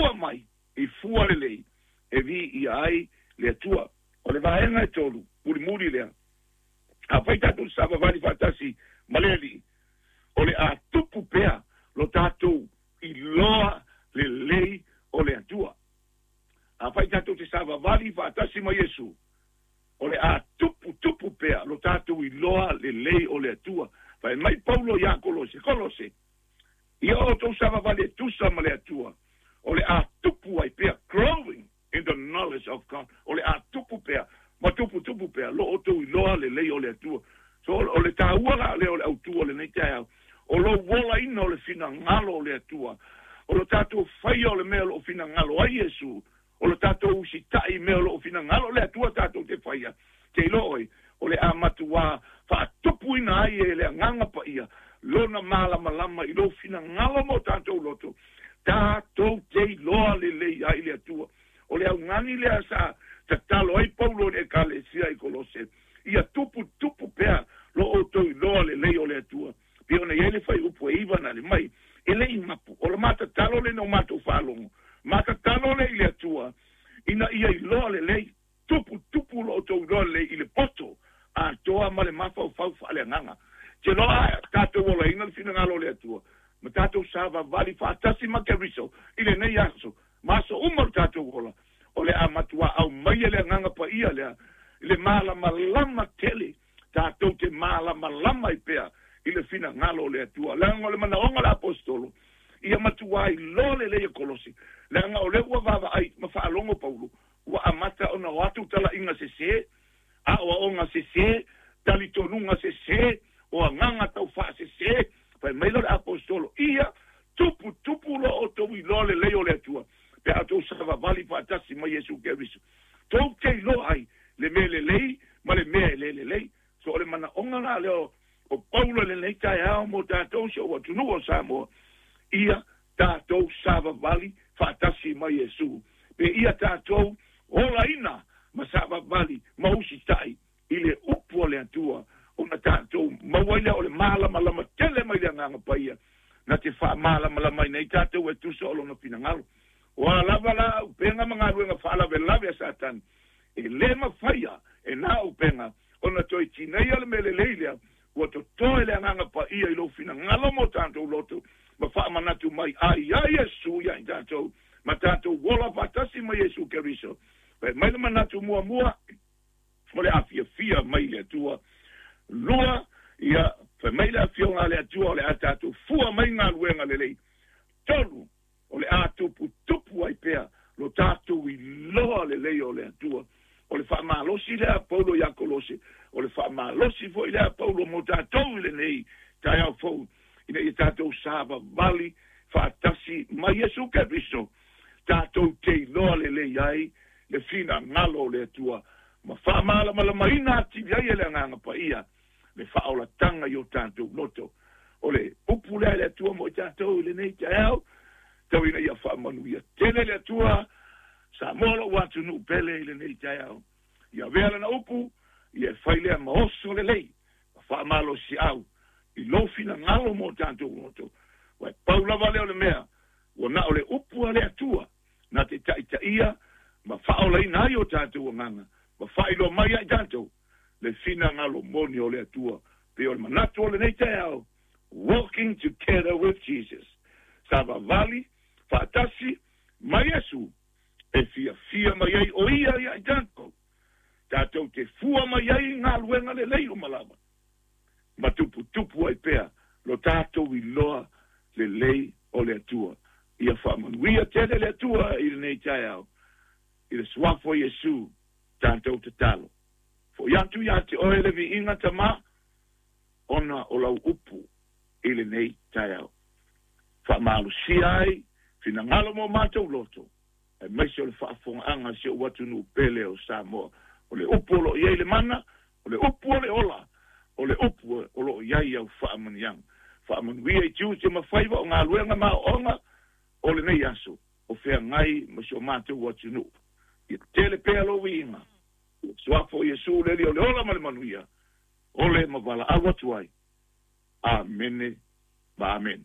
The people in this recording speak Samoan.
fua mai i fua lelei e viia ai le Atua. O le vaega e tolu, mulimuli lea, afai tatou te savavali faatasi ma le Alii, o le a tupu pea lo tatou iloa lelei o le Atua. Afai tatou te savavali faatasi ma Iesu, o le a tupu tupu pea lo tatou iloa lelei o le Atua. Fai mai Paulo ia Kolose, Kolose, ia outou savavali e tusa ma le Atua, o le a tupu ai pea, growing in the knowledge of God, o le a tupu pea, ma tupu tupu pea, lo outou iloa lelei o le Atua. So, o le taua la lea o le autu o lenei taeao, o lou olaina o le finagalo o le Atua, o lo tatou faia o le mea o loo finagalo ai Iesu, o lo tatou usitai i mea o loo finagalo le Atua tatou te faia, te iloa oi, o le a matuā faatupuina ai e le Agaga Paia lona malamalama i lou finagalo ma o tatou loto, tatou te iloa lelei ai le Atua. O le augani lea sa tatalo ai Paulo i le Ekalesia i Kolose, ia tuputupu pea lo outou iloa lelei o le Atua. Pei ona i ai le fuaiupu e 9 na le mai, e le i mapu, o le matatalo lena o matou faalogo, matatalo lea i le Atua, ina ia iloa lelei, tuputupu lo outou iloa lelei i le poto atoa ma le mafaufau faaleagaga. Te loa tatou olaina le finagalo o le Atua, ma tatou savavali faatasi ma Keriso i lenei aso, ma aso uma o le tatou ola, o le a matuā aumaia le Agaga Paia lea i le malamalama tele, tatou te malamalama ai pea i le finagalo o le Atua. Leaga o le manaoga o le aposetolo, ia matuā iloa lelei e Kolose, leaga o lea ua vaavaai ma faalogo Paulo, ua amata ona o atu talaiga sese, aoaoga sese, talitonuga sese, o agaga taufaasese. Fai mai lea o le aposetolo, ia tuputupu lo outou iloa lelei o le Atua, pe a outou savavali faatasi ma Iesu Keriso. Tou te iloa ai le mea lelei ma le mea e le lelei. So o le manaoga la lea o Paulo i lenei taeao mo tatou si ou atunuu o Samoa, ia tatou savavali faatasi ma Iesu, pe ia tatou olaina ma savavali ma usitai i le upu a le Atua, ona tatou maua ai lea o le malamalama tele mai le Agaga Paia, na te faamalamalama ai nei tatou e tusa o lona finagalo. O a lava la auupega ma galuega faalavelave a Satani, e le mafaia e na auupega ona toe tineia le mea lelei lea ua totoe le Agaga Paia i lou finagalo mo tatou loto, ma faamanatu mai ai ia Iesu ia i tatou, ma tatou ola faatasi ma Iesu Keriso. Fai mai le manatu muamua, o le a fiafia mai le Atua. Lua, ia, fai mai le afioga a le Atua o le a tatou fua mai galuega lelei. Tolu, o le a tuputupu ai pea lo tatou iloa lelei o le Atua. O le faamalosi lea a Paulo ia Kolose, o le faamalosi foi lea a Paulo mo tatou i lenei taeao fou, ina ia tatou savavali faatasi ma Iesu Keriso, tatou te iloa lelei ai le finagalo o le Atua, ma faamalamalamaina atili ai e le Agaga Paia le faaolataga i o tatou loto. O le upu lea i le Atua mo i tatou i lenei taeao, tau ina ia faamanuia tele le Atua Samoa lou atunuu pele i lenei taeao. Ia avea lana upu, ia e fai lea ma oso lelei, ma faamalosiau i lou finagalo mo tatou loto. Ua e pau lava lea o le mea, ua na o le upu a le Atua na te taitaia ma faaolaina ai o tatou agaga, ma faailoa mai ia i tatou le finagalo moni o le Atua. Pei o le manatu o lenei taeao, Walking together with Jesus, savavali faatasi ma Iesu, e fiafia mai ai o Ia ia i tatou, tatou te fua mai ai i galuega lelei uma lava, ma tuputupu ai pea lo tatou iloa lelei o le Atua. Ia faamanuia tele le Atua i lenei taeao, i le suafa o Iesu tatou tatalo. Foi atu ia te oe le viiga Tama, ona o lau upu i lenei taeao. Faamalosia ai finagalo mo matou loto, aemaise o le faafofogaaga a si ou atunuu pele o Samoa. O le upu o lo o i ai le mana, o le upu o le ola, o le upu o lo o i ai au faamanuiaga. Faamanuia i tiute ma faiva o galuega ma aoaoga o lenei aso o feagai ma si o matou atunuu. Ia tele pea lou viiga, suafa o Iesu le Alii o le ola ma le manuia, ole ma valaau atu ai. Amene ma amene.